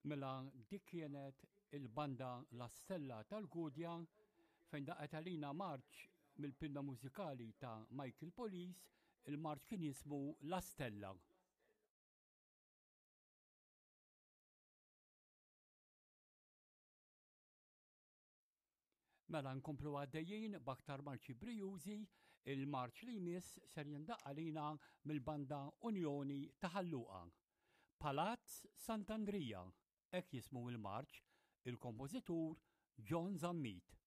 Mela dik kienet il-banda La Stella tal-Gudja fejn daqet għalina marċ mill-pinna mużikali ta' Michael Police, il-marċ kien jismu La Stella. Mela nkomplu għaddejjin b'aktar marċi brijużi, il-marċ li jmiss ser jindaqq għalina mill-banda Unjoni ta' Ħal Luqa. Palazz Sant'Andrija, hekk jismu il-marċ, il-kompożitur John Zammit.